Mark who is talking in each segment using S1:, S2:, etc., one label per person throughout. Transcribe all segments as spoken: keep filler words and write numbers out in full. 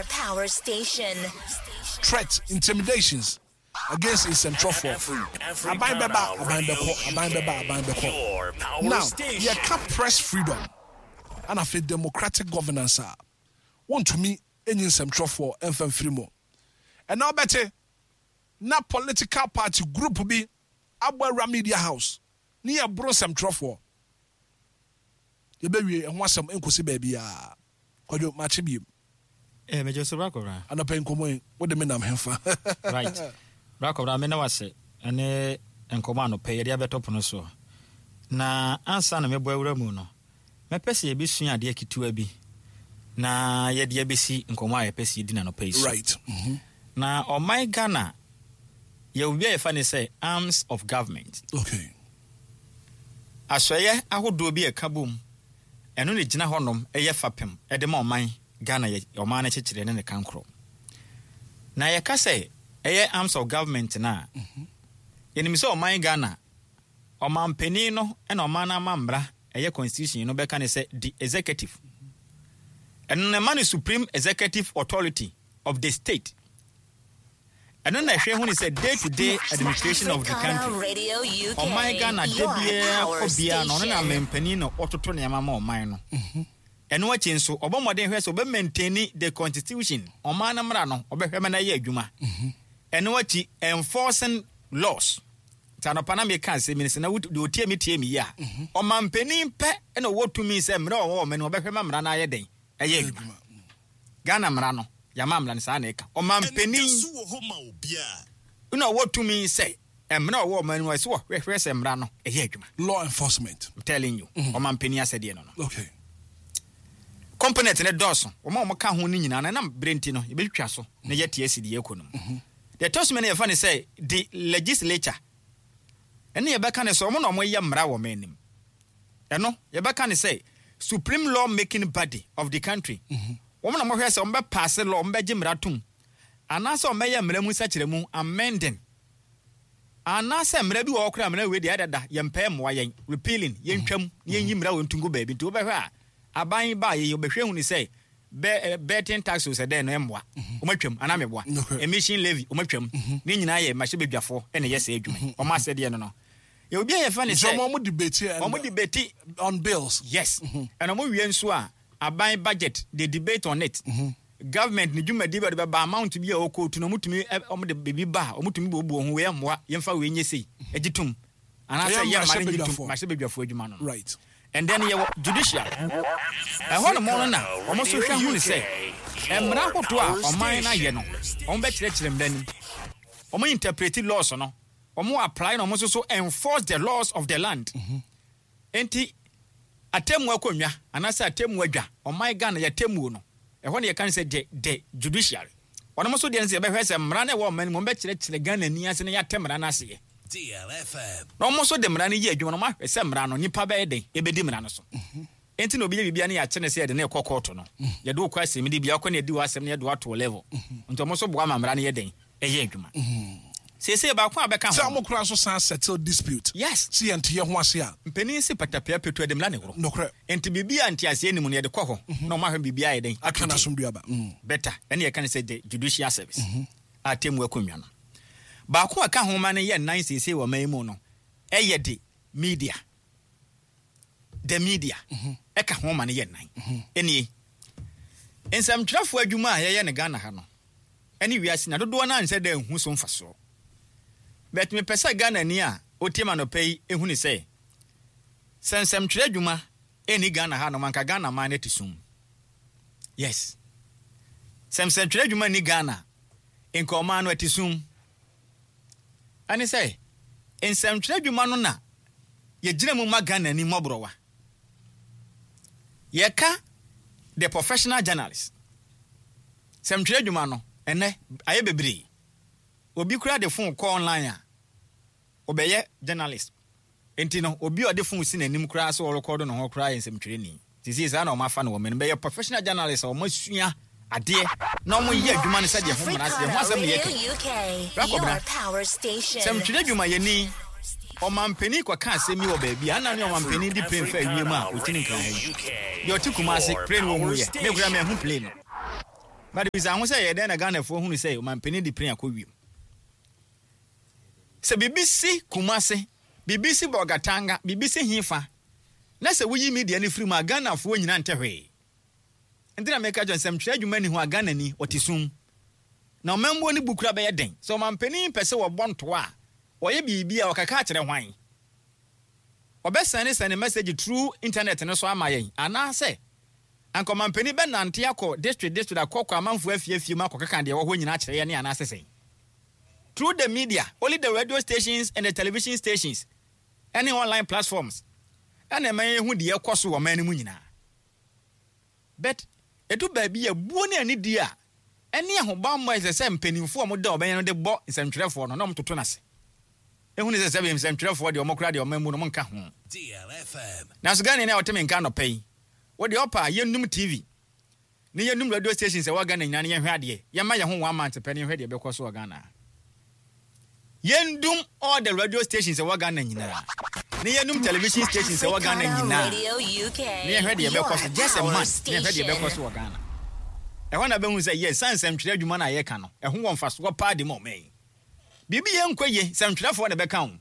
S1: Your power station.
S2: Threat, intimidations against nsɛmtwerɛfoɔ. Aban bɛba, aban bɛkɔ, aban bɛba, aban bɛkɔ. Now yɛka press freedom ana afei democratic governance a, wontumi enyi nsɛmtwerɛfoɔ ɛmfa mfiri mu. Ɛna wobɛte na political party group bi abɔ awura media house ne yɛboro nsɛmtwerɛfoɔ. Yɛbɛwie, ɛho asɛm nkɔsi baabiaa. Kwadwo, makye biem.
S3: Eh, megye so, bra kɔbra.
S2: Anɔpɛ nkɔmmɔ yi, wode me nam hemfa?
S3: Right, bra kɔbra, me ne wase ɛne nkɔmmɔ anɔpɛ yɛde abɛtɔ pono soɔ. Na ansa na mɛbɔ awura mu no, mɛpɛ sɛ yɛbɛsua adeɛ ketewa bi na yɛde abɛsi nkɔmmɔ a yɛpɛ sɛ yɛdi no anɔpɛ yi so.
S2: right mm-hmm.
S3: Na ɔman Ghana, yɛwɔ bi a yɛfa ne sɛ arms of government.
S2: Okay
S3: asɔeɛ ahodoɔ bi a ɛka bom, ɛno ne gyina hɔnom ɛyɛ fapem ɛde ma ɔman Ghana, yɛ ɔman no kyekyere ne ne kankorɔ. Na yɛka sɛ ɛyɛ arms of government no a, yɛnim sɛ ɔman Ghana ɔmanpanin no ɛna ɔman no ama mmara, ɛyɛ constitution no bɛka ne sɛ the executive. Ɛno na ɛma no supreme executive authority of the state. Ɛno na ɛhwɛ hu ne sɛ day to day administration of the
S1: Africana
S3: country.
S1: Radio U K.
S3: Ɔman Ghana da
S1: Your
S3: biara
S1: power
S3: kɔ biara no, ɔno na
S1: station.
S3: ɔmanpanin na ɔtoto nneɛma ma ɔman no. Ɛno akyi nso, ɔbɔ mmɔden hwɛ sɛ ɔbɛ maintain the constitution, ɔman no mmara no, ɔbɛhwɛ ma no ayɛ adwuma. Ɛno akyi, enforcing laws. Nti anɔpa na meka asɛm yi sɛ na wot- deɛ ɔtie me tie me yi a, ɔmanpanin pɛ ɛna ɔwɔ tumi sɛ mmerɛ a ɔwɔ ɔman no, ɔbɛhwɛ ma mmara no ayɛ dɛn, ɛyɛ adwuma. Ghana mmara no, yɛama mmara no saa na ɛka ɔmanpanin na ɔwɔ tumi sɛ mmara a ɔwɔ ɔman no mu, ɛsɛ wɔhwɛhwɛ sɛ mmara no ɛyɛ adwuma.
S2: Law enforcement.
S3: I'm telling you, ɔmanpanin asɛdeɛ no no
S2: okay
S3: Component ne dɔɔso, wɔn a wɔka ho no nyinaa no, ɛnam berɛ nti no, yɛbɛtwitwa so na yɛte asi deɛ ɛkɔ no mu. Deɛ ɛtɔ so mmienu, yɛfa ne sɛ the legislature. Ɛne yɛbɛka ne sɛ wɔn na wɔyɛ mmara wɔ ɔman anim. Ɛno yɛbɛka ne sɛ supreme law making body of the country. Wɔn na wɔhwɛ sɛ wɔn bɛ pass law, wɔn bɛgye mmara tom, anaasɛ wɔn bɛyɛ mmara mu nsakyerɛmu, amending, anaasɛ mmara bi wɔ hɔ koraa, mmara wei deɛ ɛdada, yɛmpɛ, mmoa yɛn, repealing, yɛntwam na yɛnyi mmara wɔ ntungu baabi. Nti wobɛhwɛ a, aban ba yɛ wɔbɛhwɛ hu ne sɛ bɛ betting tax o, sɛ dɛn no ɛmmoa, wɔn atwam anaa mɛboa.
S2: Nokorɛ.
S3: Emission levy, wɔn atwam. Ne nyinaa yɛ mmarahyɛbadwafoɔ ɛna ɛyɛ sɛ adwuma yi, wɔn asɛdeɛ no no yɛ obi a yɛfɛ ne
S2: nti
S3: sɛ
S2: ɔmo ɔmo debate and
S3: wɔn debate
S2: on bills.
S3: Yes, ɛna wɔn wie nso a, aban budget, they debate on it. Government ne dwumadi bi a wɔde bɛba, amount bi a wɔkɔ tu no, wɔn tumi ɛ wɔn de biribi ba a, wɔn tumi buobuo ho, wei ɛmmoa, yɛmfa wei nye sei agye tum, anaasɛ
S2: Ɛyɛ
S3: yɛ mma no nye tum.
S2: mmarahyɛbadwafoɔ.
S3: Mmarahyɛbadwafoɔ adwuma no no
S2: right
S3: And then yɛwɔ judicial. Ɛhɔ nom no na wɔn nso hwɛ hu ne sɛ mmara ahodoɔ a ɔman no ayɛ no, wɔn bɛkyerɛkyerɛ mmara nim, wɔn interpret laws no, wɔn apply na wɔn nso so enforce the laws of the land. Nti atemmu akonnwa anaasɛ atemmu adwa, ɔman Ghana yɛ atemmuo no, ɛhɔ ne yɛka no sɛ the the judiciary. Ɔnom nso deɛ no sɛ yɛbɛhwɛ sɛ mmara no ɛwɔ ɔman no mu, wɔn bɛkyerɛkyerɛ Ghana ni ase na yɛate mmara no aseɛ, na wɔn nso de mmara no yɛ adwuma na wɔn ahwɛ sɛ mmara no, nipa bɛyɛ den ebɛdi mmara no so. Nti na obi yɛ biribi a ne yɛakyɛ ne sɛ yɛde ne kɔ kɔɔto no, yɛde wokɔ asɛm de bia wokɔ ne yɛdi wɔ asɛm no, yɛde wato level. Nti ɔmo nso boa ma mmara no yɛ den, ɛyɛ adwuma. Seesei baako a bɛka
S2: sɛ
S3: ho
S2: ɔmo kora nso san settle dispute.
S3: Yes.
S2: Si yɛn te yɛ ho ase a.
S3: Mpanin si patapia petu ɛde mmara ne worɔ.
S2: Nokorɛ.
S3: Nti biribi a nteaseɛ nim no, yɛde kɔ hɔ na ɔmo ahwɛ biribi ayɛ den.
S2: Atwe n'asomdua mm.
S3: Better, ɛne yɛka ne sɛ the judicial service a temu akonnwa no baako a ka ho ma no yɛ nnan seesei wɔ ɔman yi mu no, ɛyɛ de media. The media ɛka ho ma no yɛ nnan. Ɛnie, nsɛmtwerɛfoɔ adwuma a yɛyɛ no Ghana ha no ɛne wiase na dodoɔ no ansɛ dɛ nhu so mfasoɔ, but mepɛ sɛ Ghana ni a ɔtie ma nɔpɛ yi ɛhu ne sɛ sɛ nsɛmtwerɛ adwuma ɛni Ghana ha nom, anka Ghana man no te sum. Yes, sɛ nsɛmtwerɛ adwuma ni Ghana, nka ɔman no ɛte sum. Ɛne sɛ nsɛmtwerɛ adwuma no na yɛgyina mu ma Ghana ni mmɔborɔwa. Yɛka the professional journalist, sɛmtwerɛ adwuma no, ɛnɛ ayɛ bebree. Obi kura de phone kɔ online a, ɔbɛyɛ journalist. Nti no obi a ɔde phone si n'anim koraa sɛ ɔrekɔdo ne ho koraa yɛ nsɛmtwerɛni sisi. Saa na ɔmo afa no wɔ mɛno bɛyɛ professional journalist a ɔmo asua adeɛ na ɔmo yɛ adwuma no sɛdeɛ ho mmara seɛ ho asɛm ne
S1: Radio
S3: yɛka.
S1: U K,
S3: Rakɔbena.
S1: your power station.
S3: Sɛmtwerɛ adwumayɛni, ɔmampanin kɔka asɛm yi wɔ baabi a ana ne ɔmampanin di plane fa wiem a ɔtini nkran ha yi deɛ, ɔte Kumase, plane wɔ hu yɛ me kura mahu plane no. But bisa ho sɛ yɛ dɛn na Ghanafoɔ hunu sɛ ɔmampanin de plane akɔ wiem. Sɛ biribi si Kumase, biribi si Bolgatanga, biribi si Hefa, na sɛ woyi media no firi mu a, Ghanafoɔ nyinaa nte hwee. Nti na meka kyerɛ nsɛmtwerɛ adwuma ni ho a, Ghanani ɔte sum. Na ɔmammuo no bu kura bɛyɛ den. Sɛ ɔmampanin pɛ sɛ wɔbɔ ntoa a, ɔyɛ biribi a ɔkaka akyerɛ hwan? Ɔbɛsɛne sɛne message through internet no so ama yɛn, anaasɛ anka ɔmampanin bɛnante akɔ district district, akɔkɔ amanfoɔ afiefie mu akɔkeka deɛ ɛwɔ hɔ nyinaa akyerɛ yɛn ne anaasɛ sɛn? Through the media, only the radio stations and the television stations ɛne online platforms ɛna ɛma yɛhu deɛ ɛkɔ so wɔ ɔman no mu nyinaa. But ɛdu baabi a buo ne anidie a ɛne ahobammɔ a ɛsɛ sɛ mpanimfoɔ a wɔda ɔbɛn no de bɔ nsɛmtwerɛfoɔ no na wɔtoto no ase. Ehu ne sɛ sɛ nsɛmtwerɛfoɔ deɛ, ɔmo koraa deɛ, ɔman mu no ɔmo nka ho. Nanso Ghana ni a ɔte me nka anɔpa yi, wɔde ɔpa a yɛnum T V ne yɛnum radio stations a ɛwɔ Ghana nyinaa ne yɛnhwɛ adeɛ. Yɛma yɛn ho one month pɛ ne yɛnhwɛ deɛ ɛbɛkɔ so wɔ Ghana. Yɛndum all the radio stations ɛwɔ Ghana nyinaa ne yɛnum television stations ɛwɔ Ghana nyinaa ne yɛhwɛ deɛ ɛbɛkɔ so, just a month, ne yɛhwɛ deɛ ɛbɛkɔ so wɔ Ghana. Ɛhɔ na bɛhu sɛ yɛ san nsɛmtwerɛ adwuma no a yɛka no, ɛho wɔ mfasoɔ paa de ma ɔman yi. Biribi yɛ nkɔ yie, nsɛmtwerɛfoɔ na ɛbɛka ho.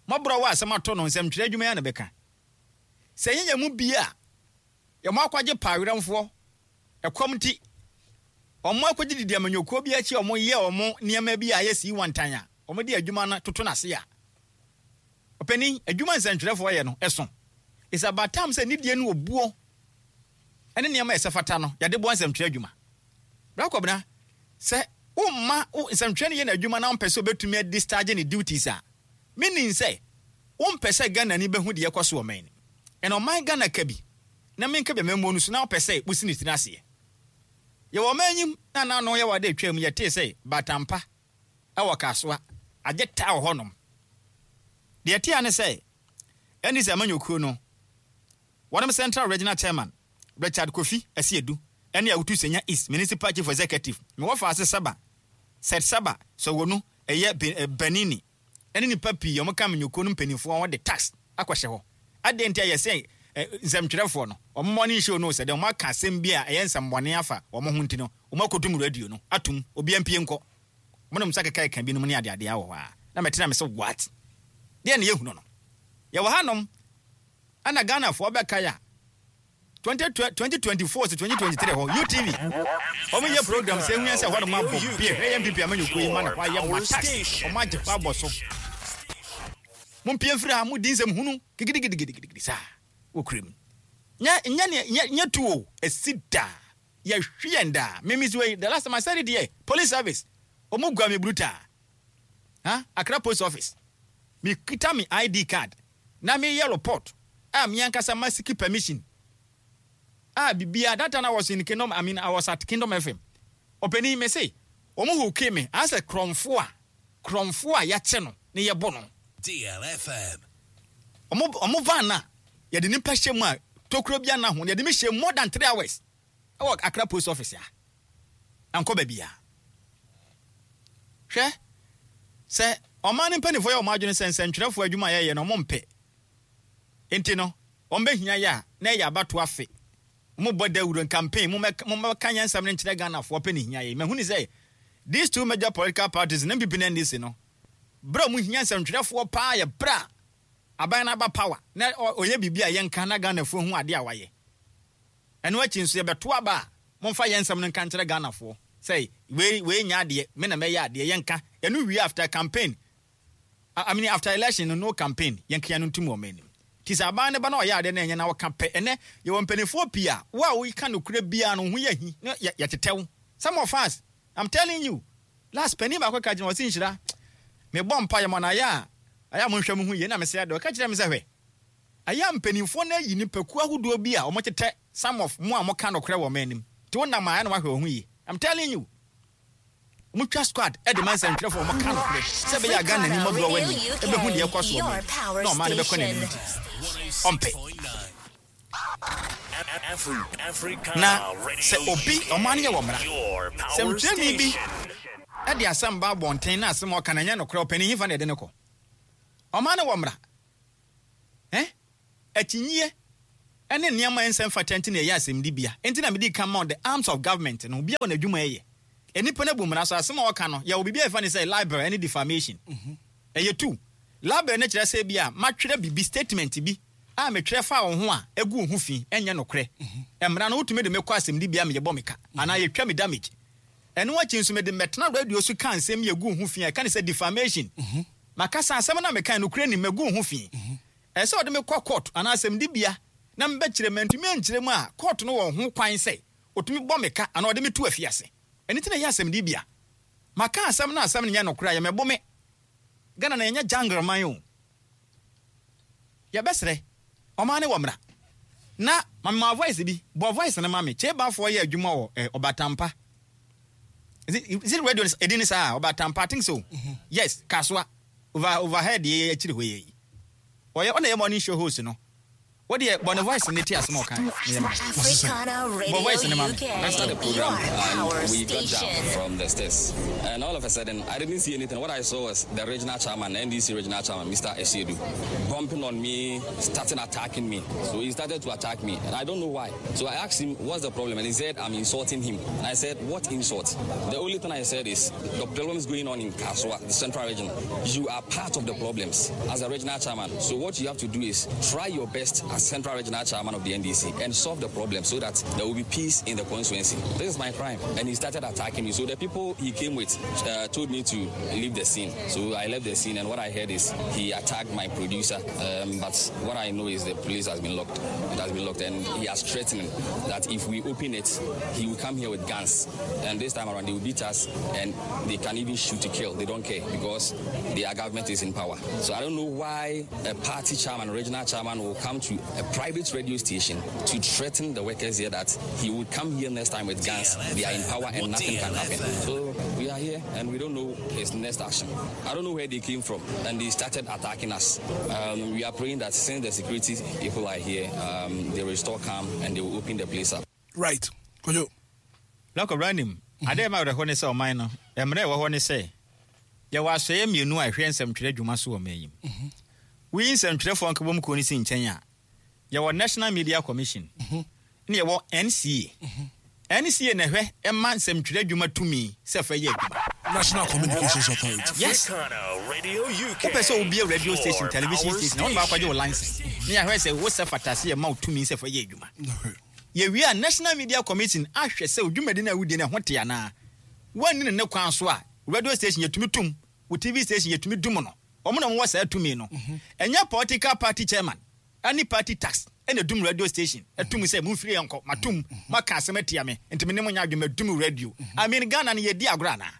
S3: Mmɔborɔ wɔ asɛm ato no, nsɛmtwerɛ adwuma yi na bɛka. Sɛ yɛnyɛ mu bi a yɛmo akɔgye pa awerɛmfoɔ ɛkɔm nti ɔmo akɔgye didi amanyɔkuo bi akyi a, ɔmo yɛ ɔmo nneɛma bi a ayɛ sii wantan a ɔmo de adwuma no toto n'ase a, ɔpanin, adwuma nsɛntwerɛfoɔ yɛ no ɛso. It's about time sɛ nidie no obuo ɛne nneɛma a ɛsɛ fata no yɛde boa nsɛntwerɛ adwuma. Brakɔbena sɛ womma wo nsɛntwerɛ no yɛ n'adwuma na wompɛ sɛ obɛtumi adischarge ne duties a, meaning sɛ wompɛ sɛ Ghana ni bɛhu deɛ ɛkɔ so wɔ man no. Ɛna ɔman Ghana ka bi na menka bi amammuo no so na wopɛ sɛ wosi ne tiri aseɛ. Yɛwɔ ɔman anyim na nano yɛwɔ ade atwa mu, yɛtee sɛ Batampa ɛwɔ Kasoa agye taa wɔ hɔnom. Deɛ ɛtea ne sɛ ɛne sɛ amanyɔkuo no wɔnom Central Regional Chairman Richard Kofi Asiedu ɛne Awutu Senya East Municipal Chief Executive mewɔ faase Saba Seth Saba Sɔwɔnu ɛyɛ Banini ɛne nipa pii a wɔka amanyɔkuo no mpanimfoɔ, wɔde tax akɔhyɛ hɔ. Adeɛ nti a yɛsɛ nsɛmtwerɛfoɔ no wɔn morning show no sɛ deɛ wɔn aka asɛm bi a ɛyɛ nsɛmbɔne afa wɔn ho nti no, wɔn akɔtum radio no atum, obiara mpie nkɔ. Wɔn nom nsa keka ɛka binom ne adeadeɛ wɔ hɔ a na mɛtena me sɛ what deɛ ne yɛhunu no. Yɛwɔ hanom ɛna Ghanafoɔ bɛka yɛ a twenty twenty-four to twenty twenty-three hɔ U T V wɔn yɛ program sɛ ehu yɛn sɛ hɔnom abɔ bie hwɛ yɛn N P P amanyɔkuo yi ma ne hɔ ayɛ ma tax wɔn agye hɔ abɔ so. Mo mpie mfiri ha, mo di nsɛm hunu gidigidigidigidi saa wɔ kurom. Nyɛ nyɛ nyɛ nyɛ tu o, esi daa yɛhwi yɛn daa. Mimi si wei, the last time I said it here, police service wɔn gua mi brutal ha Accra Post Office. Mi kita mi I D card na mi yɛ report a mi ankasa ma seek permission a bibia. That time I was in Kingdom, I mean, I was at Kingdom F M. Ɔpanin, mi se wɔn hook mi asɛ korɔmfo a korɔmfo a yɛakye no ne yɛbɔ no.
S1: D L F M.
S3: ɔmo ɔmo van na yɛde nipa hyɛ mu a tokuro bi ana ho, yɛde mi hyɛ more than three hours ɛwɔ Accra Post Office a ankɔ baabi a. Hwɛ sɛ ɔman no mpanimfoɔ yɛ ɔmo adwene sɛ nsɛntwerɛfoɔ adwuma a yɛyɛ no ɔmo mpɛ nti no, wɔn bɛhia yɛ a na ɛyɛ abato afe mo bɔ dawuro campaign, mo mɛka yɛn nsɛm no nkyerɛ Ghanafoɔ pɛ ne hia yɛ. Mahu ne sɛ these two major political parties, ne N P P ne N D C no, berɛ a mo hia nsɛntwerɛfoɔ paa yɛ berɛ a aban no aba power na ɔyɛ biribi a yɛnka na Ghanafoɔ hu adeɛ a wayɛ. Ɛno akyi nso yɛbɛto aba a, momfa yɛn nsɛm no nka nkyerɛ Ghanafoɔ sɛ wei wei nya adeɛ, me na mɛyɛ adeɛ, yɛnka ɛno wie. After campaign, I mean, after election no, no campaign, yɛnka yɛn no ntum wɔ ɔman anim. Ti sɛ aban ne ba na ɔyɛ adeɛ na ɛnyɛ na wɔka pɛ. Ɛnɛ yɛwɔ mpanimfoɔ pii a wo a woka nokorɛ biara no ho yɛ hi na yɛtetɛw. Some of us, I'm telling you, last panin baako ka gyina ɔsi nhyira mebɔ mpa yɛ mɔ na ayɛ a ayɛ a monhwɛ mo ho yie na mesɛ adeɛ ɔka kyerɛ me sɛ hwɛ, ayɛ a mpanimfoɔ no ayi nipakuo ahodoɔ bi a wɔtetɛ some of mo a moka nokorɛ wɔ ɔman anim, nti wonam a ɛna wahwɛ wo ho yie. I'm telling you, motwa squad ɛde ma nsɛntwerɛfoɔ a wɔka nokorɛ sɛ ɛbɛyɛ a Ghana ni mmɔborɔ w'ani ɛbɛhu deɛ ɛkɔ so ɔman na ɔman no bɛkɔ n'anim, nti ɔmpɛ. Na sɛ obi ɔman no yɛ wɔ mmara sɛ ntwerɛni bi ɛde asɛm ba abɔnten na asɛm a ɔka no ɛnyɛ nokorɛ, ɔpanin, hefa na ɛde no kɔ? Ɔman no wɔ mmara ɛ akyinyeɛ Ɛne nneɛma a ɛnsɛ mfata nti na ɛyɛ asɛmdibea. Enti na mede kan ma wo the arms of government no, obiara wɔ n'adwuma a ɛyɛ. Nnipa no abu mmara so, asɛm a wɔka no, yɛwɔ biribi a yɛfrɛ no sɛ libel ne defamation. Ɛyɛ two. Libel no kyerɛ sɛ ebia matwerɛ biribi, statement bi a metwerɛ faa wo ho a ɛgu wo ho fi, ɛnyɛ nokorɛ. Mmara no, wotumi de me kɔ asɛmdibea ma yɛbɔ me ka anaa yɛtwa me damage. Ɛno akyi nso, mede mɛtena radio so ka nsɛm bi a ɛgu wo ho fi a yɛka no sɛ defamation. Maka sɛ asɛm no a mekae no, nokorɛ nnim, magu wo ho fi. Ɛsɛ sɛ wɔde me kɔ court anaa asɛmdibea na mebɛkyerɛ mu. Mantumi ankyerɛ mu a, court no wɔ ho kwan sɛ ɔtumi bɔ me ka anaa ɔde me to afiase. Ɛno nti na ɛyɛ asɛmdibea. Maka asɛm na asɛm no nyɛ nokorɛ a, yɛmmɛbo me. Ghana na yɛnyɛ jungle man o. Yɛbɛsrɛ, ɔman no wɔ mmara. Na ma me ma voice bi, bɔ voice no ma me. Kyebafoɔ yɛ adwuma wɔ eh, Ɔbatampa. Is it, is it radio edin ne saa? Ɔbatampa, I think so. Mm-hmm. Yes, Kasoa. Over, overhead yɛ akyiri hɔ yɛ yi. Ɔyɛ ɔna yɛ morning show host no. Wo deɛ bɔ ne voice no tie asɛm a ɔkaeɛ no yɛ ma me.
S1: Africana
S3: Bɔ
S1: Radio
S3: voice no ma me.
S1: U K,
S4: After the program,
S1: your power
S4: and we got down
S1: station.
S4: from the stairs, and all of a sudden, I didn't see anything. What I saw was the regional chairman, N D C regional chairman, Mister Asiedu, bumping on me, starting attacking me. So he started to attack me, and I don't know why. So I asked him, "What's the problem?" And he said, "I'm insulting him." And I said, "What insult?" The only thing I said is, the problems going on in Kasoa, the central region, you are part of the problems as a regional chairman. So what you have to do is try your best as central regional chairman of the N D C and solve the problem so that there will be peace in the constituency. This is my crime. And he started attacking me. So the people he came with uh, told me to leave the scene. So I left the scene, and what I heard is he attacked my producer. Um, but what I know is the police has been locked. It has been locked, and he has threatened that if we open it, he will come here with guns. And this time around, they will beat us, and they can even shoot to kill. They don't care because their government is in power. So I don't know why a party chairman, regional chairman, will come to a private radio station to threaten the workers here that he would come here next time with guns. They are in power and nothing can happen. So we are here and we don't know his next action. I don't know where they came from, and they started attacking us. Um, we are praying that since the security people are here, um, they restore calm and they will open the place up.
S2: Right. Kojo.
S3: Lɔkɔ nim adeɛ ma werɛhɔ ne sɛ ɔman no mmerɛ ɛwɔ hɔ ne sɛ yɛwɔ asɔeɛ mmienu a ɛhwɛ nsɛmtwerɛ adwuma so wɔ man yi mu. Woyi nsɛmtwerɛfoɔ nkabom kuo no si nkyɛn a, yɛwɔ National Media Commission ne yɛwɔ N C A. N C A na ɛhwɛ ɛma nsɛmtwerɛ adwuma tumi sɛ fɛ yɛ adwuma.
S2: National Communications Authority.
S3: Yes. Wopɛ sɛ wobie radio station, television station na wone baakɔgye wo license ne yɛahwɛ sɛ wo sɛ fatase yɛ ma wo tumi sɛ fɛ yɛ adwuma.
S2: Okay.
S3: Yɛwie a, National Media Commission ahwɛ sɛ odwumadi no a wodie no ɛho te anaa woanni ne ne kwan so a, radio station yɛtumi tum wo, T V station yɛtumi dum no. Ɔmo na wɔwɔ saa tumi no. Ɛnyɛ political party chairman ɛne party tax ɛna dum radio station ɛtum sɛ mumfiri yɛn nkɔ matum maka asɛm atia me nti me ne mo nya adwuma dum radio. I mean, Ghana no yɛdi agorɔ anaa?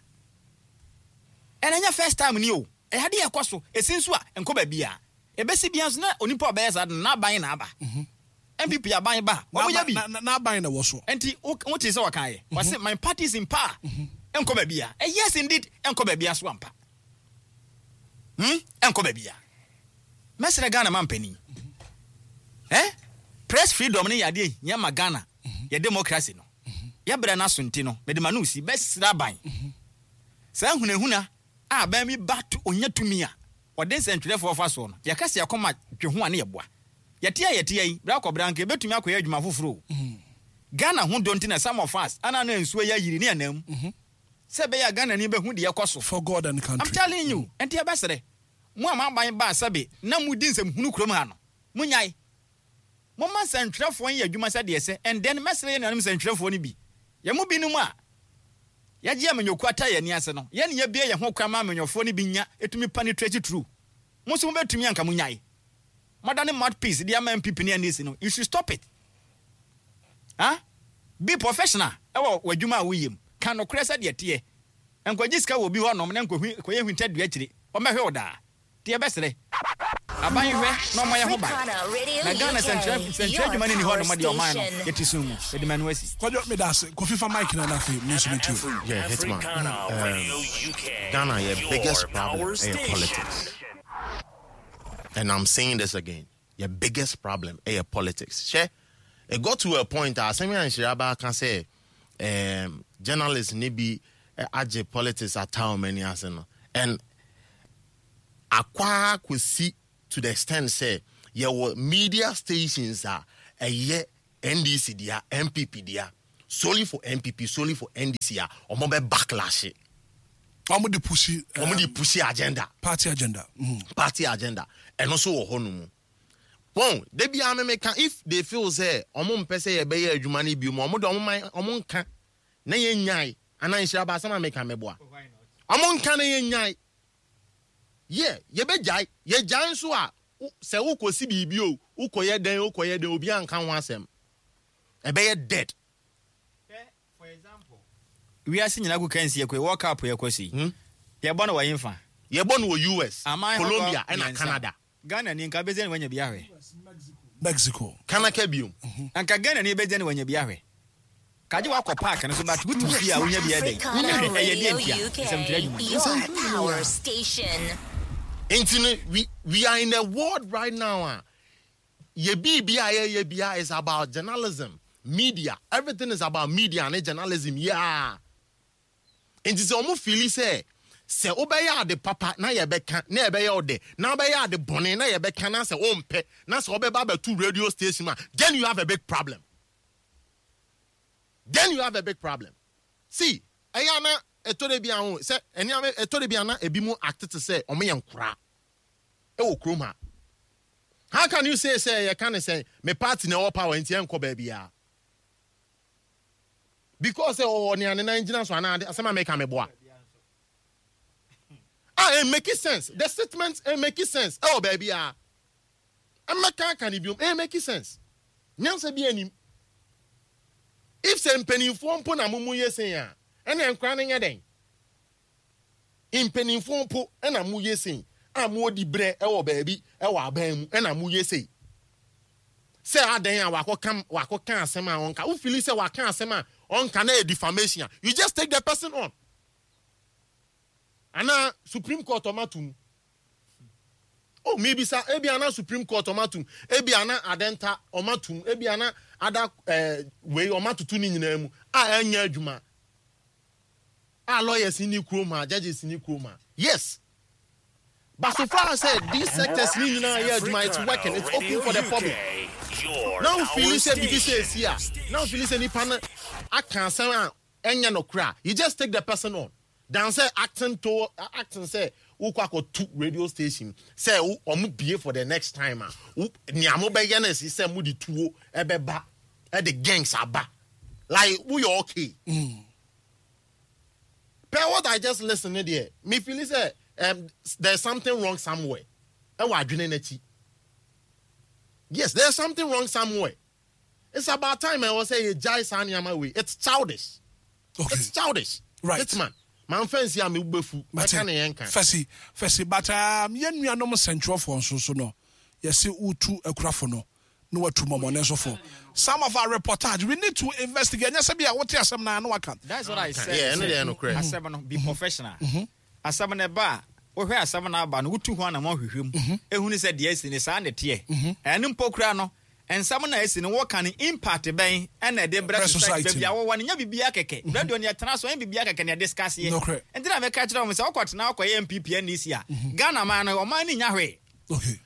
S3: Ɛna ɛnyɛ first time ni o. Ɛyɛ adeɛ ɛkɔ so ɛsi nso a nkɔ baabi a ɛbɛsi bia nso na onipa a ɔbɛyɛ saa de no n'aban na aba. N P P aban ba a wɔn yɛ bi.
S2: N'aban na wɔ so.
S3: Nti wo wote sɛ wɔka yɛ wɔse my party is in power, ɛnkɔ baabi a eh, yes indeed, ɛnkɔ baabi a so ampa hmm ɛnkɔ baabi a mɛsrɛ Ghana ma mpanin eh press freedom ne yɛ adeɛ hia ma Ghana yɛ democracy no. Yɛbrɛ no aso nti no mede ma no si bɛsrɛ aban saa hunahuna a aban bi ba to onya tumi a ɔde nsɛntwerɛfoɔ fa soɔ no. Yɛka sɛ yɛkɔma dwe ho a ne yɛboa yɛte a yɛte yi berɛ akɔbrɛ anka yɛbɛtumi akɔyɛ adwuma foforɔ o. Ghana ho dɔ nti na some of us ana na nsuo yɛ ayiri ne anam sɛ ɛbɛyɛ a Ghana ni bɛhu deɛ ɛkɔ so.
S2: For God and
S3: I'm
S2: country.
S3: telling you. Nti yɛbɛsrɛ mo a moaban baa sɛbe na modi nsɛm hunu kurom ha no, monyae momma nsɛntwerɛfoɔ nyɛ adwuma sɛdeɛ sɛ. And then mɛsrɛ yɛ nuanom nsɛntwerɛfoɔ no bi, yɛn mu binom a yɛgye amanyɔkuo ata yɛn ani ase no, yɛne yɛbie yɛn ho kwan ma amanyɔfoɔ no bi nya ɛtumi penetrate through mo nso mobɛtumi anka monyae modane mouthpiece de ama N P P ne N D C no. You should stop it. Huh? Be professional ɛwɔ w'adwuma a woyɛ mu. Ka nokorɛ sɛdeɛ teɛ. Nkɔgye sika wɔ obi hɔnom na nkɔyɛ hwintadua akyire ɔmmɛhwɛ wo daa. Nti yɛbɛserɛ aban hwɛ na ɔmmɔ yɛ ho ban na Ghana nsɛntwerɛ adwuma no ni hɔ nom deɛ ɔman no yɛte sum mu. Yɛde ma no asi.
S2: Kwadwo, meda ase. Kofi, fa mic na na afei me nso metie.
S5: Yeah, Hitman. Um, Ghana, your biggest problem is politics. And I'm saying this again. Your biggest problem is politics. Share. It got to a point asɛm yɛ nhyira ba aka sɛ um, journalists ne bi eh, agye politics ata wɔn ani ase no and akwa kɔsi to the extent sɛ yɛwɔ media stations a ɛyɛ N D C dea, N P P dea, solely for N P P, solely for N D C a, ɔmo bɛ backlash.
S2: Ɔmo de push.
S5: Ɔmo de push agenda.
S2: Party agenda mm.
S5: Party agenda, ɛno nso wɔ hɔ no mu wɔn debi amemeka. If they feel sɛ ɔmo mpɛ sɛ yɛbɛyɛ adwuma no bi mu, ɔmo de ɔmo man ɔmo nka na yɛn nyae anaa nhyira ba asɛm a meka mɛboa ɔmo nka na yɛn nyae yɛ yɛbɛgyae. Yɛgyae nso a, wo- sɛ wokɔsi biribi o, wokɔyɛ dɛn, wokɔyɛ dɛn, obi anka ho asɛm, ɛbɛyɛ dead.
S3: For example, wiase nyinaa ko kansi yɛ kɔ World Cup yɛ kɔ si
S5: Hmm?
S3: yɛbɔ no wɔ yɛmfa
S5: Yɛbɔ no wɔ U S,
S3: aman
S5: Colombia
S3: ahodoɔ
S5: ɛna
S3: mmiɛnsa.
S5: Canada.
S3: Ghana ni nka bɛgye ne wanya bi ahwɛ.
S2: Mexico.
S5: Kanaka biom.
S3: Anka Ghana ni bɛgye ne wanya bi ahwɛ kagye wakɔ park no so, but wotu fie a wonya bi ɛdɛn.
S1: Africana
S3: Ɛyɛ
S1: Radio
S3: deɛ ntia
S1: U K,
S3: nsɛmtwerɛ adwuma.
S1: your power station.
S5: Nti no, we we are in a world right now a yɛ biribi a yɛyɛ bia is about journalism, media. Everything is about media ne journalism. Yeah, nti sɛ ɔmo feel sɛ sɛ wobɛyɛ ade papa na yɛbɛka na yɛbɛyɛ ɔdɛ, na wobɛyɛ ade bɔne na yɛbɛka na sɛ wompɛ na sɛ wobɛba abɛto radio station a, then you have a big problem. Then you have a big problem. See, ɛyɛ ana ɛtɔ de bi aho sɛ ɛnea ɛtɔ de bi ana ebi mu act te sɛ ɔmo yɛ nkoraa ɛwɔ kurom ha. How can you say sɛ yɛka ne sɛ me party na ɛwɔ power nti ɛnkɔ baabi a, because sɛ ɔwɔ nea ne nan gyina so anaa asɛm a meka meboa ah, it make sense. The statement, it make sense. Ɛwɔ baabi a ɛmɛka aka ne biom, it make sense. Nyansa bi anim. If sɛ mpanimfoɔ mpo na mo mu yɛ sen a, ɛna nkora no nyɛ dɛn? Mpanimfoɔ mpo ɛna mo yɛ sen a, mo di brɛ ɛwɔ baabi ɛwɔ aban mu ɛna mo yɛ sen sɛ adan a wakɔka wakɔka asɛm a ɔnka. Wo feel sɛ waka asɛm a ɔnka na yɛ defamation a, you just take the person on ana Supreme Court ɔma tum o. Mibisa, ebi ana Supreme Court ɔma tum, ebi ana adɛnta ɔma tum, ebi ana ada ɛɛ wei ɔma tutu ne nyinaa mu a ɛnyɛ adwuma a, lawyers ni kurom ha, judges ni kurom ha. Yes, but so far as say these sectors ni nyinaa yɛ adwuma, it's working, it's open for the public. Now feel sɛ bibi sɛ esi a, now feel sɛ nipa no aka asɛm a ɛnyɛ no kora, you just take the person on than sɛ acting to acting sɛ wokɔ akɔtu radio station sɛ ɔmo bie for the next time a, nea mo bɛyɛ no si sɛ mo de tuo ɛbɛba, ɛde gangs aba, like woyɛ okay. Mm. Per what I just listen ne deɛ, me feel sɛ um, there's something wrong somewhere ɛwɔ adwene n'akyi. Yes, there's something wrong somewhere. It's about time ɛwɔ sɛ yɛ gyae saa nneɛma wei. It's childish.
S2: Okay.
S5: It's childish.
S2: Right.
S5: It's man man fɛnsi a mi bɛfu mɛka ne yɛn kan.
S2: Fɛsi fɛsi, but um, yɛn nuanom nsɛntwerɛfoɔ nso so no, yɛsi wotu akurafo no na watu mɔmɔne nso fo. Some of our reportage, we need to investigate. Nyɛ sɛ bi a wote asɛm na ano aka.
S3: That's what I said.
S5: Yeah, ɛno deɛ ɛno korɛ.
S3: Asɛm no, be professional. Asɛm no ba a, wohwɛ asɛm no aba no, wotu ho anamɔ hwehwɛ mu ehunu sɛ deɛ asi ne saa ne teɛ. Ɛno mpo kura no, nsɛm na asi no, wɔka no, impact bɛn ɛna ɛde brɛ society baabi a wɔwɔ no? Nyɛ biribiara kɛkɛ. Radio no yɛtena so, ɛnyɛ biribiara kɛkɛ na yɛde discuss yɛ. Nti na mɛka kyerɛ wɔn sɛ wokɔtena wokɔyɛ N P P N D C a, Ghana man no, ɔman no nya hwee.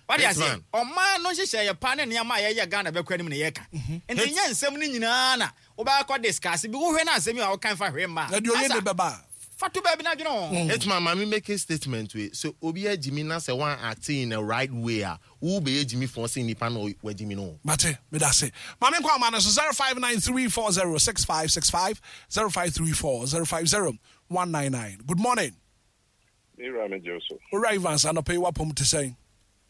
S3: Wade ase, ɔman no nhyehyɛ yɛ pa ne nneɛma a yɛyɛ Ghana bɛkɔ anim na yɛka. Nti nyɛ nsɛm no nyinaa na wobɛkɔ discuss bi. Wohwɛ no, asɛm yi a woka mfa hwee mma.
S2: Na deɛ ɔyɛ ne bɛba.
S3: Fa to baabi na adwene ho.
S5: Etuma maame make a statement wei so, obi agyimi na sɛ wɔn act in the right way a, wo bɛyɛ gyimi fɔn sɛ nipa na wagyimi no.
S2: Mate, meda se maame nkɔ ama no so zero five nine three four zero six five six five, zero five three four zero five zero one nine nine. Good morning.
S6: Mewura, megye wo so.
S2: Owura Evans, anɔpɛ yi wapɔm te sɛn?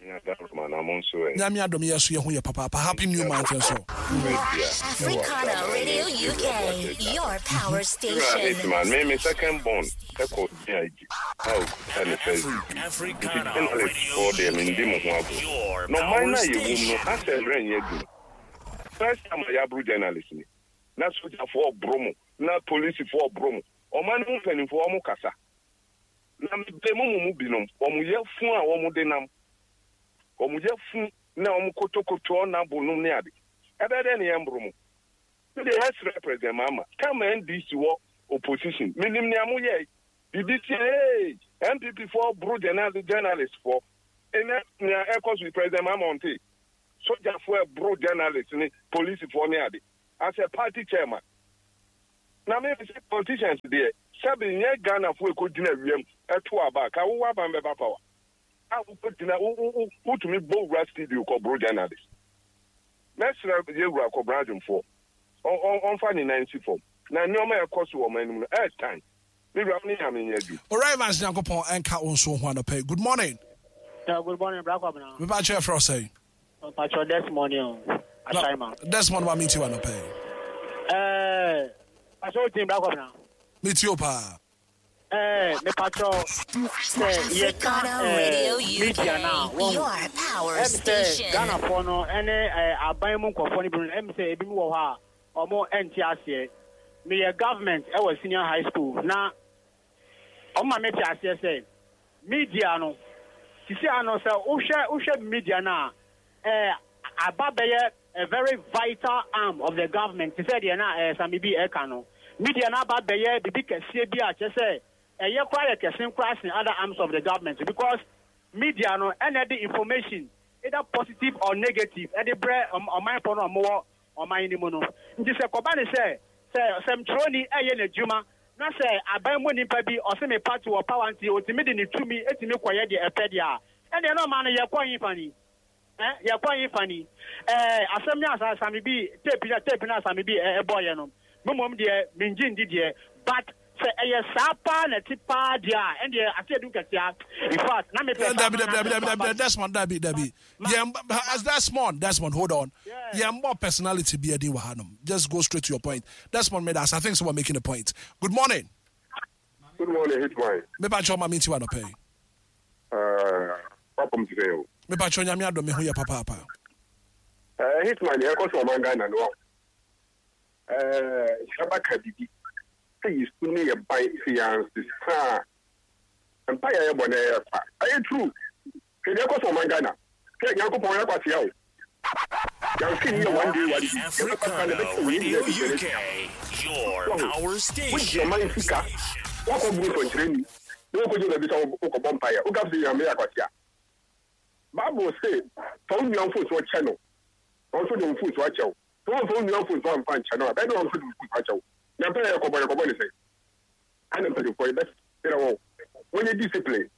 S2: Nyame adom, yɛ so yɛ ho yɛ papaapa. Happy new month nso.
S1: Africana Radio U K, your power station.
S6: Me me second born ɛkɔ D I G a okuta ne first degree, nti journalist foɔ deɛ, mendi mo ho agorɔ. Na ɔman no a yɛwɔ mu no, asɛ mmerɛ nyɛ adwuma. First time a yɛaboro journalist ni na sogyafoɔ ɔboro mo na polisifoɔ ɔboro mo, ɔman no mu mpanimfoɔ ɔmo kasa na mebere mu mu mu binom wɔn yɛ fun a wɔn de nam wɔn yɛ fun na wɔn kotokoto ɔnabo nom ne ade ɛbɛyɛ dɛ ne yɛn mboro mo. Mi de yɛsrɛ President Mahama kama N D C wɔ opposition, minim nea mo yɛ bibi tie ee N P P foɔ boro journalist foɔ ɛnɛ nea ɛkɔ so. President Mahama ɔnte Sogyafoɔ ɛboro journalist ne polisifoɔ ne ade as a party chairman. Na me sɛ politicians deɛ, sɛbi, nyɛ Ghanafoɔ ɛkɔgyina wiem ɛto aba a ka wowɔ aban bɛba power a wokɔgyina wotumi bɔ wura studio kɔboro journalist. Mɛsrɛ yɛwura Kɔbra Adwomfoɔ, ɔmfa ne nan si fam na nneɛma a ɛkɔ so wɔ ɔman no mu no ɛɛtan. Me wura, ne Nyame nyɛ adwuma.
S2: Owura Evans, Nyankopɔn ɛnka wo nso ho anɔpɛ. Good morning.
S7: Yeah, good morning, Bra Kwabena.
S2: Mepa kyerɛ frɛ wo sɛn?
S7: Pacho Desmond o. Ashaima.
S2: Desmond, ma menti wa anɔpɛ.
S7: Eh, Pacho team, Bra Kwabena.
S2: Meti o paa.
S7: Eh, me pacho sɛ yɛka
S1: Radio
S7: eh, media na
S1: U K,
S7: wɔn
S1: your power
S7: ɛm sɛ
S1: station.
S7: Ghanafoɔ no ɛne eh, aban mu nkɔfoɔ no bi no, ɛm sɛ ebi mu wɔ hɔ a ɔmo ɛnte aseɛ. Meyɛ government ɛwɔ senior high school na ɔmo ma mete aseɛ sɛ media no sisi ano sɛ wohwɛ wohwɛ media no a, ɛɛ aba bɛyɛ a very vital arm of the government, te sɛ deɛ na ɛɛ Sami bi ɛka no. Media no aba bɛyɛ bibi kɛseɛ bi a kyerɛ sɛ ɛyɛ koraa, yɛ kɛse koraa sen other arms of the government, because media no ɛna ɛde information, either positive or negative, ɛde brɛ ɔmanfoɔ no a wɔwɔ ɔman no mu no. Nti sɛ kɔba ne sɛ sɛ sɛmtwerɛni ɛyɛ n'adwuma na sɛ aban mu nipa bi ɔsɛ me party wɔ power nti otumi de ne tumi etumi kɔyɛ deɛ ɛpɛ deɛ a, ɛdeɛ na ɔman no yɛkɔ yi fa ni ɛ yɛkɔ yi fa ni. Ɛɛ asɛm ne asa Sami bi tape na tape na Sami bi ɛbɔ yɛ no, mmom deɛ mengye ndi deɛ, but sɛ ɛyɛ saa paa na ɛte paa deɛ a, ɛndeɛ ase edu nkɛseɛ. In fact, na mepɛ
S2: Dabi, dabi, dabi, dabi, dabi, Desmond, dabi, dabi. Yɛn as Desmond, Desmond, hold on. Yɛn bɔ personality bi ɛdin wɔ hanom. Just go straight to your point, Desmond. Medas, I think so we're making a point. Good morning.
S6: Good morning, Hitman.
S2: Mepa kyɛw, ma mi ti wa nɔpɛ yi.
S6: Wapɔm ti sɛ o.
S2: Mepa kyɛw, Nyame adɔ, me ho yɛ papaapa.
S6: Uh, Hitman, deɛ ɛkɔ so ɔman Ghana no, hyɛba ka bibi sɛ yɛsu ne yɛ ban sɛ yɛansesa a, mpa yɛ yɛbɔ na ɛyɛ fa. Ɛyɛ true. Hwɛ deɛ ɛkɔ so ɔman Ghana, hwɛ, Nyankopɔn yɛ kwatea o. Yɛnse ne yɛ one day one day yɛbɛkasa na ɛbɛkyɛ wei
S8: Radio
S6: nyinaa bi.
S8: U K, your power
S6: wogye
S8: station.
S6: ɔman sika, woakɔ buru sɔnkyerɛni na wokɔgye baabi sɛ wokɔbɔ mpaeɛ, woka sɛ Nyame yɛ akwatea. Bible se fa wo nua mfomsoɔ kyɛ no, ɔno nso de wo mfomsoɔ akyɛ wo. Sɛ wɔmfa wo nua mfomsoɔ amfa nkyɛ no a, bɛyɛ dɛ ɔno nso de wo mfomsoɔ akyɛ wo. Na mpɛ yɛ kɔbɔ yɛkɔbɔ ne sɛ ana mpanimfoɔ yɛbɛserɛ wɔ wɔnyɛ discipline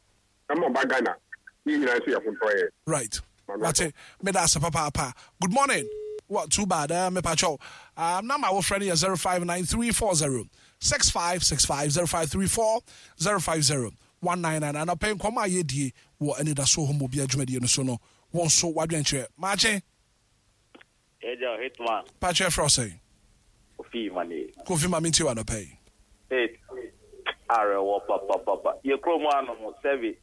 S6: na ma ɔba Ghana ne yɛ nyinaa nso yɛ ho ntɔyɛ.
S2: Right, wate, meda ase papaapa. Good morning. What, too bad. uh, mepa kyɛw, um, number wo frɛ no yɛ zero five nine three four zero six five six five, zero five three four zero five zero one nine nine. Anɔpɛ nkɔmmɔ a yɛdie wɔ anidasoɔ hɔ mu obi adwumadie no so no, wɔn nso wadwenkyerɛ maakye.
S9: Ɛgya Hitman.
S2: Pakyɛ, frɛ wo sɛn?
S9: Kofi Mane.
S2: Kofi, ma mentie wɔ anɔpɛ yi.
S9: Eight awerɛwɔ papapapa. Yɛ kurom anom sɛbi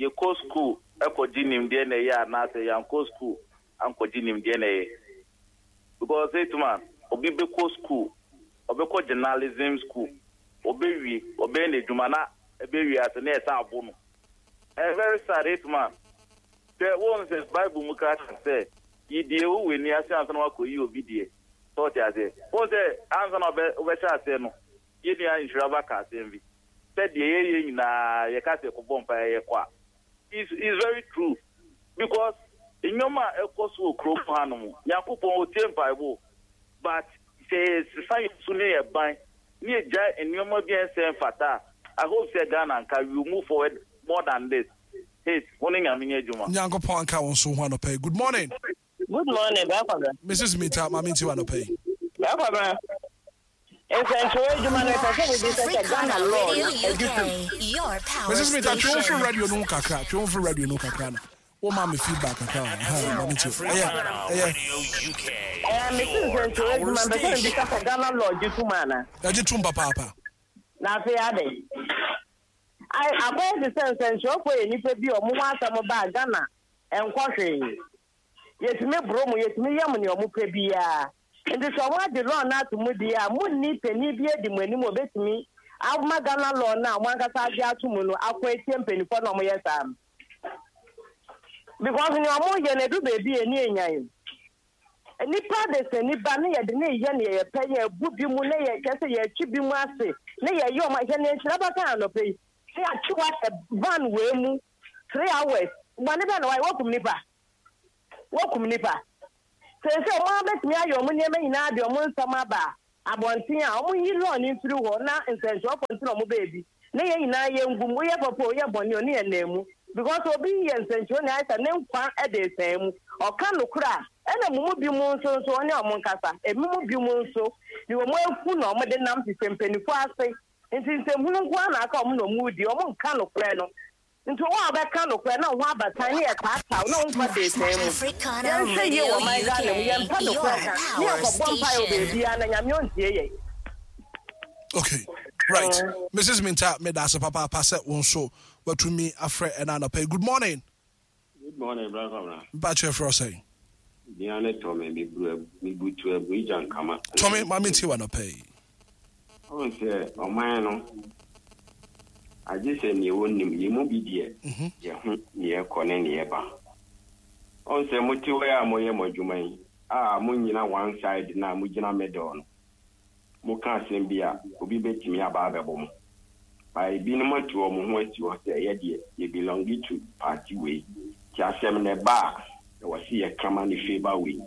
S9: yɛkɔ school ɛkɔgye nimdeɛ na ɛyɛ, anaasɛ yɛankɔ school ankɔgye nimdeɛ na ɛyɛ? Because Hitman, obi bɛkɔ school, ɔbɛkɔ journalism school, ɔbɛwie, ɔbɛyɛ n'adwuma na ɛbɛwie ase na ɛsɛ abo no. Ɛyɛ very sad, Hitman. Sɛ wɔn sɛ Bible mu ka sɛ yi deɛ wo wɔ ani ase ansa na wakɔ yi obi deɛ sɛ ɔte aseɛ. Wɔn sɛ ansa na ɔbɛ ɔbɛhyɛ aseɛ no, yɛn nua Nhyira ba ka asɛm bi sɛ deɛ yɛyɛ nyinaa yɛka sɛ kɔbɔ mpa yɛ kɔ a, is is very true, because nneɛma a ɛkɔ so wɔ kurom hanom, Nyankopɔn otie mpaebɔ, but sɛ yɛsesa yɛn su ne yɛ ban ne yɛgya nneɛma bi a ɛnsɛ mfata a, I hope sɛ Ghana nka we will move forward more than this. Hey, wo ne Nyame nyɛ adwuma.
S2: Nyankopɔn anka wo nso ho anɔpɛ yi. Good morning.
S10: Good morning, Bra Kwabena.
S2: Missus Mita, ma mentie wɔ anɔpɛ yi.
S10: Bra Kwabena. Nsɛntwerɛ adwuma no, ɛpɛ sɛ bibi sɛ sɛ Ghana law
S1: Radio
S10: no adi tom.
S1: U K, your power
S2: Missus Mita, twe wo
S1: station.
S2: firi radio no ho kakra, twe wo firi radio no ho kakra no woma me feedback kakra wɔ ha. Ma mentie ɛyɛ ɛyɛ.
S8: Radio U K,
S10: Ɛɛ, mesi
S8: your
S10: nsɛntwerɛ
S8: power
S10: adwuma mpɛ sɛ bibi
S8: station.
S10: sɛ Ghana law gye tom ana?
S2: Ɛgye tom papaapa.
S10: Na afei ade. Ai, akɔyɛ te sɛ nsɛntwerɛfoɔ yɛ nnipa bi a ɔmo ho asɛm baa Ghana ɛnkɔ hwee. Yɛtumi boro mu, yɛtumi yɛ mo nea ɔmo pɛ biara. Nti sɛ ɔmo agye law no ato mu deɛ a, munni panin bi adi mo anim a obetumi ama Ghana law no a ɔmo ankasa agye ato mu no akɔ etie mpanimfoɔ na ɔmo yɛ saa no. Because nea ɔmo yɛ no edu beebi a eni enyan. Nipa de sɛ nipa ne yɛde ne yɛ nea yɛpɛ, yɛ bu bi mu ne yɛ kyɛ sɛ yɛtwi bi mu ase ne yɛyɛ ɔmo hwɛ ne nhyira bɛka anɔpɛ yi ne yɛatwe wahyɛ van wei mu three hours. Bɔne bɛn na wayɛ? Wakum nipa, wakum nipa. Sɛ sɛ ɔmo abɛtumi ayɛ ɔmo nneɛma nyinaa de ɔmo nsɛm aba abɔnten a, ɔmo yi law ne mfiri hɔ na nsɛnkyerɛfoɔ nti na ɔmo baabi ne yɛn nyinaa yɛ ngum. Woyɛ papa, woyɛ bɔne o, ne yɛ nan mu, because obi yɛ nsɛnkyerɛni ayɛ sɛ ne nkwa de sɛn mu ɔka nokora a, ɛna mo mu bi mu nso nso ɔne ɔmo nkasa. Ebi mu bi mu nso de ɔmo afu na ɔmo de nam hwehwɛ mpanimfoɔ ase, nti nsɛmhunu nko ara na aka ɔmo na ɔmo di ɔmo nka nokorɛ no. Nti wɔn a wɔbɛka nokorɛ na wɔn abatan ne yɛ taataa na wɔn nkwa de sɛn mu. Yɛnhwɛ yie wɔ man Ghana mu, yɛmpɛ nokorɛ ka ne yɛkɔbɔ mpaeɛ wɔ beebiara na Nyame ɔntie yɛn.
S2: Okay, right, Missus Minta, meda ase papaapa sɛ wo nso watumi afrɛ ɛna anɔpa yi. Good morning.
S11: Good morning, Brother Kwabena.
S2: Mpakyɛ, frɛ sɛn?
S11: Bia ne Tɔme, meburu mebutu abu igya nkama.
S2: Tɔme, ma mentie wɔ anɔpa yi.
S11: Ɔhu sɛ ɔman no agye sɛ neɛ wɔnim yɛn mu bi deɛ, yɛho neɛ ɛkɔ ne neɛ ɛba. Ɔhu sɛ mote hɔ yi a moyɛ mo adwuma yi a, monyina one side na mogyina middle no. Moka asɛm bi a, obi bɛtumi aba abɛbɔ mo. Ba ebinom atu wɔn ho asi hɔ sɛ ɛyɛ deɛ yɛ belong to party wei. Nti asɛm no ɛba a, ɛwɔ sɛ yɛka ma ne favour wei.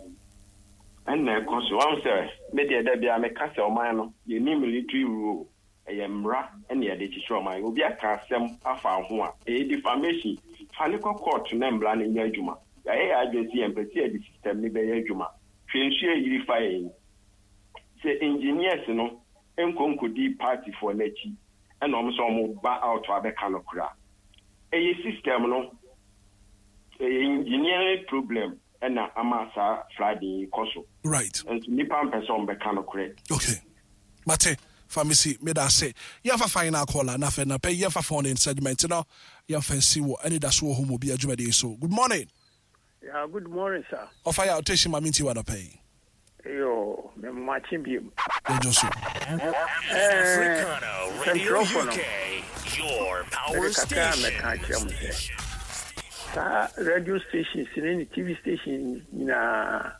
S11: Ɛnna ɛkɔ so. Ɔhu sɛ me deɛ, da biara meka sɛ ɔman no, yɛnni military rule. Ɛyɛ mmara ɛna yɛde kyekyere ɔman. Obi aka asɛm afa ho a, ɛyɛ defamation. Fa ne kɔ court na mmara no nyɛ adwuma. Yɛayɛ yɛ adwene sɛ yɛmpɛ sɛ yɛde system no bɛyɛ adwuma. Hwɛ, nsuo ayiri fa yɛn. Sɛ engineers no nkɔ nkɔdi partyfoɔ n'akyi ɛna ɔmo sɛ ɔmo ba out abɛka no koraa. Ɛyɛ system no, ɛyɛ engineering problem ɛna ama saa flooding yi kɔ so.
S2: Right.
S11: Nso nipa mpɛ sɛ ɔmo bɛka no korɛ.
S2: Okay, mate. Famisi, meda ase. Yɛmfa final caller na afei napɛ yɛmfa phone in segment no, yɛmfa nsi wɔ ɛne da so wɔ hɔ mu bi adwumadeɛ so. Good morning.
S12: Yeah, good morning, sir.
S2: Ɔfa yɛ ɔtɛhyi, ma mentie wɔ anɔpɛ yi.
S12: Yo, me makye biem.
S2: Yɛdwo so.
S8: Africana Radio
S12: Sɛntwerɛfo no,
S8: U K, your power
S12: mede kakra a
S8: station.
S12: mɛka akyerɛ mo sɛ saa radio stations ne ne T V station nyinaa,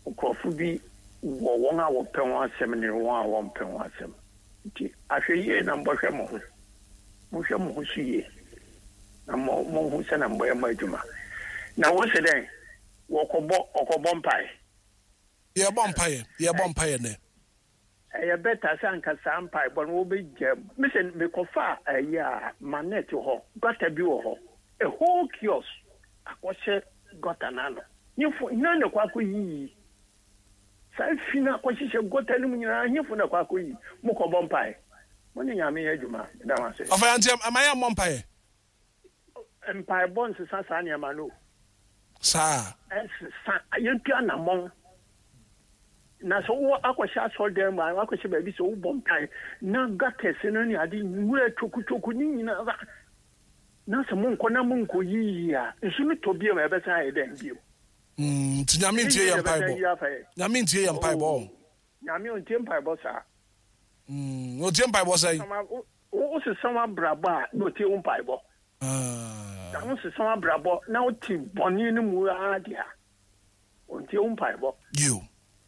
S12: nkurɔfo bi wɔ wɔn a wɔpɛ wɔn asɛm ne wɔn a wɔmpɛ wɔn asɛm, nti ahwɛ yie na mbɔhwɛ mo ho, monhwɛ mo ho so yie na mo monhu sɛ na mbɔyɛ mo adwuma na wo sɛ dɛn wɔkɔbɔ ɔkɔbɔ mpae.
S2: Yɛbɔ mpaeɛ, yɛbɔ mpaeɛ nɛ.
S12: Ɛyɛ better sɛ anka saa mpaebɔ no wobɛgya mu. Mesɛ mekɔfa ayi a manet hɔ, gutter bi wɔ hɔ, a whole kiosk akɔhyɛ gutter no ano. Nyefo hena na ɛkɔ akɔyiyi saa fi no akɔhyehyɛ gutter no mu nyinaa? Hefo na ɛkɔ akɔyi? Mokɔbɔ mpae, mo ne Nyame yɛ adwuma. Meda mo ase.
S2: Ɔfa yɛ nti ama yɛ mmɔ mpaeɛ.
S12: Mpaebɔ nsesa saa nneɛma no o.
S2: Saa.
S12: Ɛnsesa. Yɛntu anammɔn na sɛ wowɔ akɔhyɛ asɔredan mu a, akɔhyɛ baabi sɛ wobɔ mpae na gutters no ne ade nwura twokutwoku ne nyinaa ba na sɛ monkɔ na monkɔ yiyi a, nsu no tɔ bio a, ɛbɛsan ayɛ dɛn bio?
S2: Mm, nti Nyame ntie yɛ mpaebɔ? Nyame ntie yɛ mpaebɔ?
S12: Oh, Nyame ɔntie mpaebɔ saa.
S2: Mm, ɔtie mpaebɔ sɛn?
S12: Wo sesa w'abrabɔ a, na ɔtie wo mpaebɔ.
S2: Ah.
S12: Na wo sesa w'abrabɔ na wote bɔne no mu ara deɛ a, ɔntie wo mpaebɔ.
S2: Yo,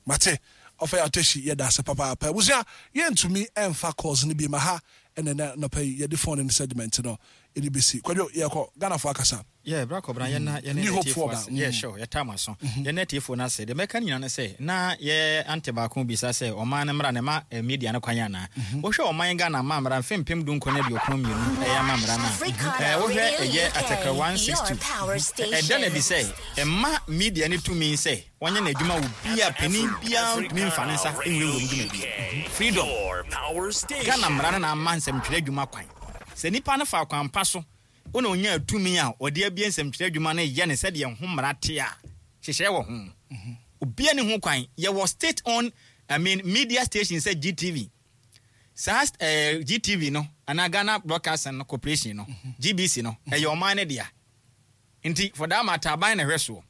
S2: mate. Ɔfa yɛ atɔhyi, yɛda ase papaapa. Abusua, yɛntumi ɛmfa calls no bi ma ha ɛnɛ nɛ nɔpɛ yi. Yɛde phone no segment no yɛde bɛsi. Kwadwo, yɛkɔ Ghanafoɔ akasa.
S3: Yeah, bra kɔbra, yɛn na yɛn
S2: New
S3: ne
S2: Hope
S3: atiefoɔ
S2: foɔ ba.
S3: ase. Yeah, sure, yɛta mo aso. Yɛn ne atiefoɔ no ase. Deɛ mɛka no nyinaa ne sɛ na yɛ ante baako bisa sɛ ɔman no mmara ne ma eh, media no kwan anaa. Wohwɛ ɔman Ghana ma mmara mfe mpem du nkron ne aduokron mmienu ɛyɛ ama mmara no a,
S1: Africana
S3: eh, wohwɛ
S1: Radio
S3: ɛyɛ
S1: U K,
S3: article one six two,
S1: your power station.
S3: Ɛda no adi sɛ ɛma media no tumi sɛ wɔnyɛ n'adwuma wɔ bia panin biara ntumi mfa ne nsa nwurawura mu dwumadi. Freedom Ghana mmara no na ama nsɛmtwerɛ adwuma kwan sɛ nipa no fa kwan pa so wona onya tumi a ɔde abie nsɛmtwerɛ adwuma no, yɛ ne sɛdeɛ ho mmara te a hyehyɛ wɔ ho. Obia ne ho kwan. Yɛwɔ state owned, I mean, media station sɛ G T V, saa eh, G T V no anaa Ghana Broadcasting Corporation no, G B C no, ɛyɛ ɔman no dea. Nti for that matter, aban na ɛhwɛ soɔ,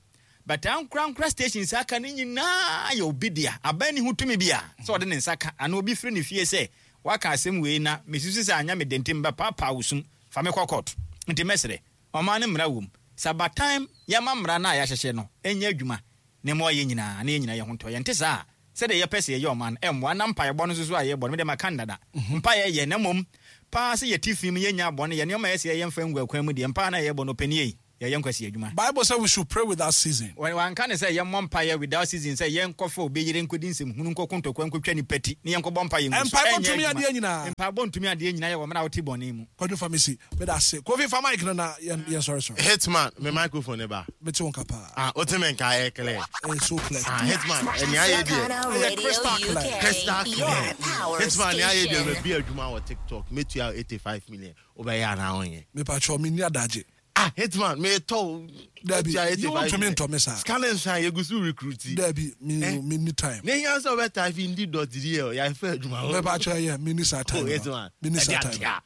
S3: but ankorankora stations aka no nyinaa yɛ obi dea. Aban ne ho tumi bi a sɛ ɔde ne nsa ka anaa obi firi ne fie sɛ waka asɛm wei na mesusu sɛ anya me dentim bɛpaapaa wo sum fa me kɔ court. Nti mɛsrɛ, ɔman no mmara wom sɛ abatan yɛma mmara no a yɛahyehyɛ no ɛnyɛ adwuma na ma ɔyɛ nyinaa na yɛn nyinaa yɛ ho ntɔ. Yɛnte saa a, sɛdeɛ yɛpɛ sɛ yɛyɛ ɔman no ɛmmoa. Na mpaebɔ no nso so a yɛbɔ no, mede maka no dada, mpaeɛ yɛ na mmom paa sɛ yɛte fi mu, yɛnya bɔne yɛ nneɛma a yɛsɛ yɛmfa ngu akwan mu deɛ mpaa na yɛbɔ no ɔpɛnie yi. Yɛyɛ nkwasi adwuma.
S2: Bible said we should pray without ceasing.
S3: Wanka ne sɛ yɛmmɔ mpaeɛ without season sɛ yɛnkɔfa obi yere nkɔdi nsɛm hunu nkɔko ntɔkwa nkɔtwa nipa ti ne yɛnkɔbɔ mpaeɛ ngu so.
S2: Mpaebɔ
S3: Ɛnyɛ
S2: ntumi
S3: adwuma.
S2: adeɛ nyinaa.
S3: Mpaebɔ ntumi adeɛ nyinaa yɛ wɔ mmerɛ a wote bɔne mu.
S2: Kwadwo Famisi, meda ase. Kofi, fa mic no na yɛn yɛn sɔre sɔre.
S5: Hitman, me microphone ne ba.
S2: Mete wo nka paa.
S5: Ah, wote me nka ɛyɛ clear.
S2: Ɛyɛ so clear.
S5: Ah, Hitman, ɛnea ayɛ deɛ.
S1: Africana
S2: Ɛyɛ
S1: Radio
S2: crystal clear.
S1: U K,
S5: Crystal
S1: your
S5: clear.
S1: power
S5: Hitman, nea ayɛ deɛ
S1: station.
S5: mabi adwuma wɔ TikTok. Metua eighty-five million. Wobɛyɛ anaa wonyɛ?
S2: Mepatwɛ, menni adagye.
S5: Ah, Hitman, metɔ.
S2: Dabi, yi wontumi ntɔ me saa.
S5: Sika ne nsa yɛgu so recruit.
S2: Dabi, me
S5: Eh?
S2: menni time.
S5: Ne hia sɛ wobɛtype indi dot dl yɛafɛ adwuma hɔ.
S2: Mepatwɛ, yɛ menni saa
S5: Oh,
S2: time no.
S5: Hitman.
S2: Menni saa
S5: Ɛde
S2: time.
S5: atea.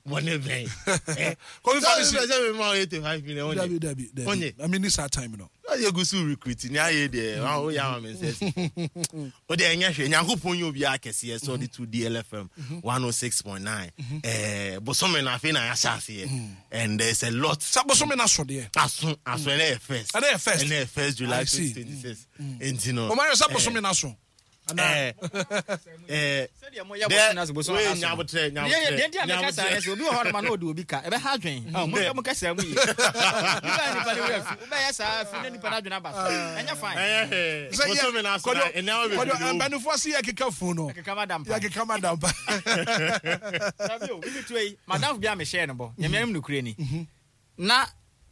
S5: Bɔne bɛn? Eh?
S2: Kofi
S5: Sɛ
S2: Famisi.
S5: wopɛ sɛ mema wo eighty-five million, wonyɛ?
S2: Dabi, dabi, dabi.
S5: Wonyɛ?
S2: Menni saa time no.
S5: Yɛgu so recruit ne ayɛ deɛ woyɛ ama me nsɛ si wode ɛnyɛ hwɛ. Nyankopɔn yɛ obiaa kɛseɛ sɛ ɔde to D L F M one oh six point nine. Eh, bosome no afei na yɛahyɛ aseɛ and there's a lot.
S2: Sɛ bosome no aso deɛ.
S5: Aso, aso. Ɛnɛ yɛ first.
S2: Ɛnɛ yɛ first.
S5: Ɛnɛ yɛ first July
S2: I see.
S5: twenty twenty-six, nti no
S2: Ɔmayɛ sɛ
S5: eh,
S2: bosome no aso.
S5: eh, eh,
S3: Sɛdeɛ moyɛ
S5: dɛ-
S3: bosome no ase, bosome
S5: wei
S3: no aso no.
S5: nyabotrɛ,
S3: Deɛ- deɛ nti a meka saa
S5: nyabotrɛ.
S3: ne sɛ obi wɔ hɔ noma na ɔde obi ka ɛbɛha adwen. Ah, monka mo kasa mu yie. Nipa nipa ne werɛ fi wobɛyɛ saa fi na nipa no adwene aba so, ɛnyɛ fine.
S5: Ɛnyɛ hwee.
S2: Sɛ yɛ-
S5: Bosome no aso na
S2: Kwadwo-
S5: ɛnɛ
S2: Kwadwo,
S5: bebree wɔ mu.
S2: mpanimfoɔ se yɛkeka funu no.
S3: Ɛkeka ma dampa.
S2: Yɛkeka ma dampa.
S3: Dabi o, bibi tuo yi, madamfo bi a mehyɛɛ no bɔ, Nyame anim nokorɛ ni. Na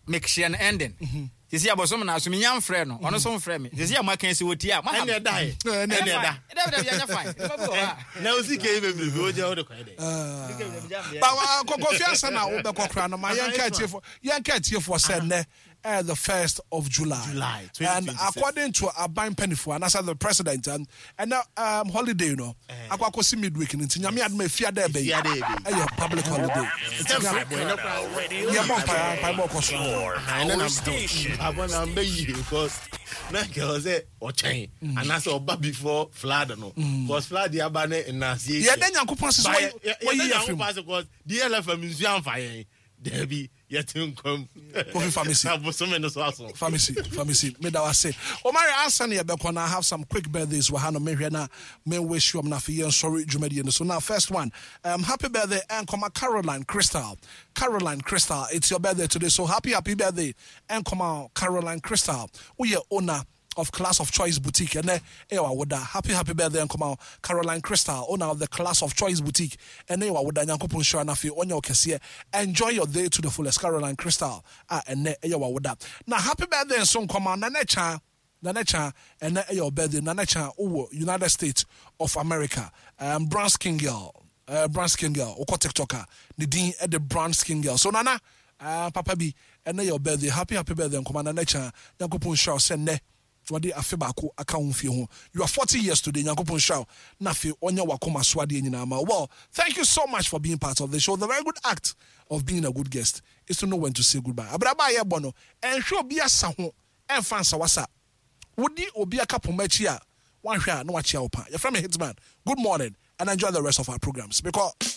S3: mehyɛ no ending. Sisi abosom na so menya mfrɛ no, ɔno nso mfrɛ me. Sisi a moaka sɛ wɔtie a, moaha me.
S5: Ɛnɛ da yɛ.
S2: Ɛnɛ
S5: Ɛnɛ
S3: Ɛnyɛ
S5: da.
S3: fine. Dabi, dabi, ɛnyɛ fine. Nipa bi wɔ hɔ a.
S5: Na osi ke bebrebe wogye wode kɔɛ dɛ.
S2: Ba Kofi, ansa na wobɛkɔ koraa no, ma yɛnka atiefoɔ yɛnka atiefoɔ sɛ nnɛ eh, the first of July.
S5: July,
S2: and
S5: twenty twenty-six.
S2: According to aban mpanimfoɔ anaasɛ the president, um, ɛnɛ um, holiday no akɔ akɔsi midweek no, nti Nyame adom a Efiada ɛbɛ yi
S5: Efiada ɛbɛ yi.
S2: ɛyɛ public holiday. Nti
S5: Sɛ mpaebɔ, ɛnɛ koraa-
S2: yɛbɔ mpaeɛ, mpaebɔ kɔ so.
S5: Ɛnɛ na mpaebɔ na mbɛ yie because na nka ɛwɔ sɛ ɔkyɛn anaasɛ ɔba before flood no, because flood yɛ aba ne nnaseɛ.
S2: Yɛda Nyankopɔn ase sɛ wɔyi- wɔyi yɛ firi mu.
S5: Nyankopɔn ase because D L F M nsuo amfa yɛn, daabi, yɛte nkwam.
S2: Kofi Famisi.
S5: Na bosome no so aso.
S2: Famisi, Famisi, meda wase. Omari, ansa ne yɛbɛkɔ na I have some quick birthdays wɔ ha no mehwɛ na me wish you na afei yɛnsɔre dwumadie no so. Now, first one, um, happy birthday ɛnkɔma Caroline Crystal. Caroline Crystal, it's your birthday today, so happy, happy birthday ɛnkɔma Caroline Crystal. Woyɛ owner of Class of Choice Boutique, ɛnɛ ɛyɛ wawoda. Happy, happy birthday nkɔma Caroline Crystal, owner of the Class of Choice Boutique. Ɛnɛ yɛ wawoda. Nyankopɔn nhyira no afei ɔnyɛ wo kɛseɛ. Enjoy your day to the fullest, Caroline Crystal a ɛnɛ ɛyɛ wawoda. Na happy birthday nso nkɔma Nana Kya. Nana Kya, ɛnɛ ɛyɛ your birthday. Nana Kya, wowɔ United States of America, um, brown skin girl, uh, brown skin girl, wokɔ TikTok a ne din ɛde brown skin girl. So Nana, uh, papa bi, ɛnɛ yɛ your birthday. Happy, happy birthday nkɔma Nana Kya. Nyankopɔn nhyira wo sɛ nnɛ wɔde afe baako aka wo mfie ho. You are forty years today. Nyankopɔn nhyira wo na afei ɔnyɛ wakoma so adeɛ nyinaa ma. Well, thank you so much for being part of the show. The very good act of being a good guest is to know when to say goodbye. Abraba a yɛbɔ no, ɛnhwɛ obi asa ho, ɛmfa nsa wasa wodi obi aka poma akyi a wanhwɛ a na wakyea wo pa. Yɛfrɛ me Hitman. Good morning and enjoy the rest of our programs because